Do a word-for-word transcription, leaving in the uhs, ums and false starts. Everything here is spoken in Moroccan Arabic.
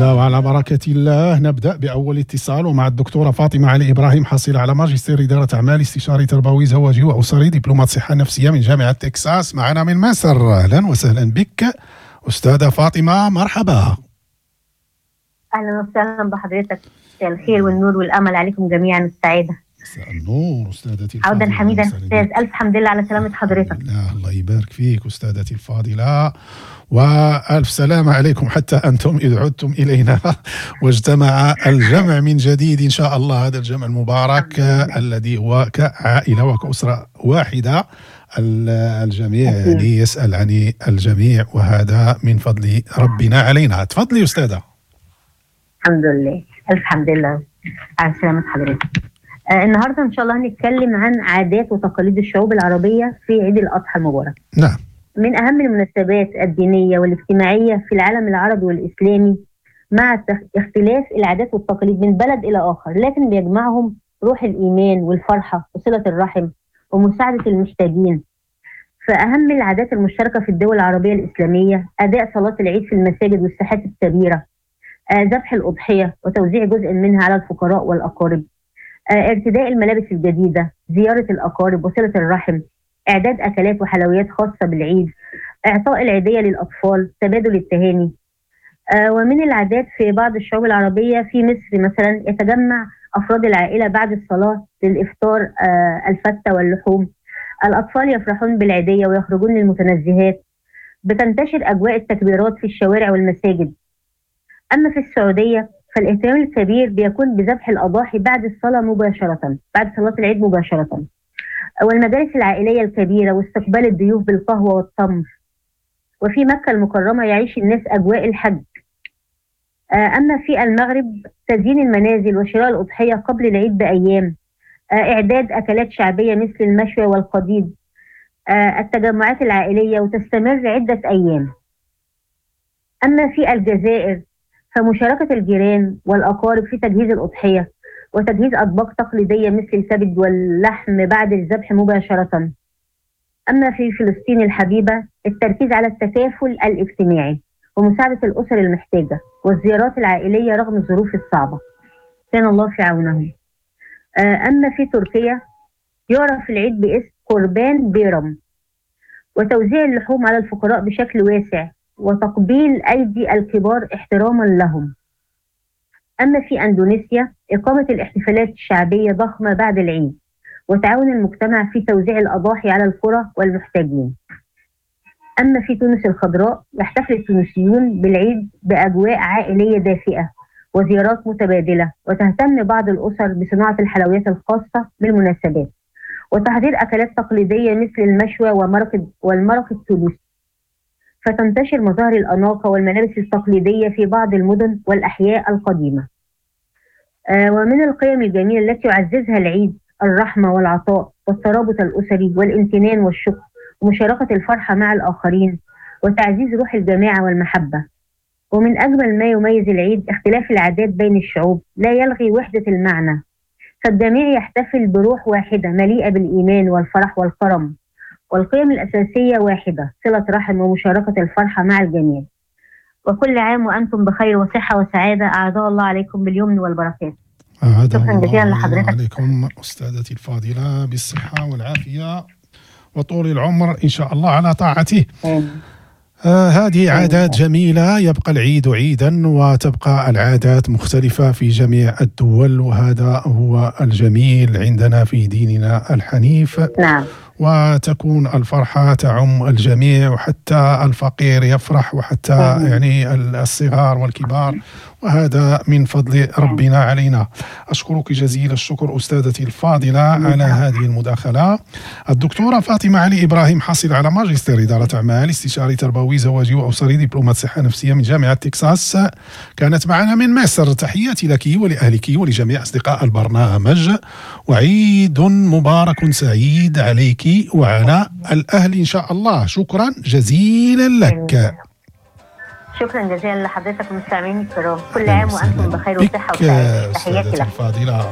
الله وعلى بركة الله. نبدأ بأول اتصال ومع الدكتورة فاطمة علي إبراهيم، حاصلة على ماجستير إدارة أعمال، استشاري تربوي زواجي وأسري، دبلومة صحة نفسية من جامعة تكساس، معنا من مصر. أهلا وسهلا بك أستاذة فاطمة، مرحبا. أهلا وسهلا بحضرتك، مساء الخير والنور والأمل عليكم جميعا السعادة. مساء النور أستاذتي الفاضلة. عودا حميدا أستاذ، ألف حمد لله على سلامة حضرتك. الله, الله يبارك فيك أستاذتي الفاضلة، وألف سلامة عليكم حتى أنتم إذ عدتم إلينا واجتمع الجمع من جديد إن شاء الله، هذا الجمع المبارك الذي هو كعائلة وكأسرة واحدة، الجميع يعني يسأل عن الجميع، وهذا من فضل ربنا علينا. تفضلي أستاذة. الحمد لله، ألف حمد لله على سلامة حضرتك. آه النهارده إن شاء الله هنتكلم عن عادات وتقاليد الشعوب العربية في عيد الأضحى المبارك. نعم. من أهم المناسبات الدينية والاجتماعية في العالم العربي والإسلامي، مع اختلاف العادات والتقاليد من بلد إلى آخر، لكن بيجمعهم روح الإيمان والفرحة وصلة الرحم ومساعدة المحتاجين. فأهم العادات المشتركة في الدول العربية الإسلامية أداء صلاة العيد في المساجد والساحات الكبيرة، ذبح الأضحية وتوزيع جزء منها على الفقراء والأقارب، ارتداء الملابس الجديدة، زيارة الأقارب وصلة الرحم، إعداد أكلات وحلويات خاصة بالعيد، إعطاء العيدية للأطفال، تبادل التهاني. ومن العادات في بعض الشعوب العربية في مصر مثلا يتجمع أفراد العائلة بعد الصلاة للإفطار الفتة واللحوم، الأطفال يفرحون بالعيدية ويخرجون للمتنزهات، بتنتشر أجواء التكبيرات في الشوارع والمساجد. أما في السعودية فالاهتمام الكبير بيكون بذبح الأضاحي بعد الصلاة مباشرة، بعد صلاة العيد مباشرة، والمجالس العائلية الكبيرة واستقبال الضيوف بالقهوة والتمر. وفي مكة المكرمة يعيش الناس أجواء الحج. أما في المغرب تزيين المنازل وشراء الأضحية قبل العيد بأيام، إعداد أكلات شعبية مثل المشوي والقديد، التجمعات العائلية وتستمر عدة أيام. أما في الجزائر فمشاركة الجيران والأقارب في تجهيز الأضحية وتجهيز أطباق تقليدية مثل الكبد واللحم بعد الذبح مباشرة. أما في فلسطين الحبيبة التركيز على التكافل الاجتماعي ومساعدة الأسر المحتاجة والزيارات العائلية رغم الظروف الصعبة، كان الله في عونهم. أما في تركيا يعرف العيد باسم قربان بيرم، وتوزيع اللحوم على الفقراء بشكل واسع وتقبيل أيدي الكبار احتراما لهم. أما في أندونيسيا إقامة الاحتفالات الشعبية ضخمة بعد العيد وتعاون المجتمع في توزيع الأضاحي على القرى والمحتاجين. أما في تونس الخضراء يحتفل التونسيون بالعيد بأجواء عائلية دافئة وزيارات متبادلة، وتهتم بعض الأسر بصناعة الحلويات الخاصة بالمناسبات وتحضير أكلات تقليدية مثل المشوى ومرق والمرق التونسي. فتنتشر مظاهر الأناقة والملابس التقليدية في بعض المدن والأحياء القديمة. آه ومن القيم الجميلة التي يعززها العيد الرحمة والعطاء والترابط الأسري والامتنان والشكر ومشاركة الفرحة مع الآخرين وتعزيز روح الجماعة والمحبة. ومن أجمل ما يميز العيد اختلاف العادات بين الشعوب لا يلغي وحدة المعنى، فالجميع يحتفل بروح واحدة مليئة بالإيمان والفرح والكرم، والقيم الأساسية واحدة، صلة رحم ومشاركة الفرحة مع الجميع. وكل عام وأنتم بخير وصحة وسعادة، أعاده الله عليكم باليمن والبركات. أعاده الله عليكم أستاذتي الفاضلة بالصحة والعافية وطول العمر إن شاء الله على طاعته. آه هذه عادات جميلة، يبقى العيد عيدا وتبقى العادات مختلفة في جميع الدول، وهذا هو الجميل عندنا في ديننا الحنيف. نعم. وتكون الفرحة تعم الجميع، وحتى الفقير يفرح، وحتى يعني الصغار والكبار، وهذا من فضل ربنا علينا. أشكرك جزيل الشكر أستاذتي الفاضلة على هذه المداخلة. الدكتورة فاطمة علي إبراهيم، حاصلة على ماجستير إدارة أعمال، استشاري تربوي زواجي وأسري، دبلومة صحة نفسية من جامعة تكساس، كانت معنا من مصر. تحياتي لك ولأهلك ولجميع أصدقاء البرنامج، وعيد مبارك سعيد عليك وعلى الأهل إن شاء الله. شكرا جزيلا لك. شكرا جزيلا لحضرتك ومستمعين الكرام، كل عام وأنتم بخير وصحة وسعادة. تحياتي لك. الفاضلة.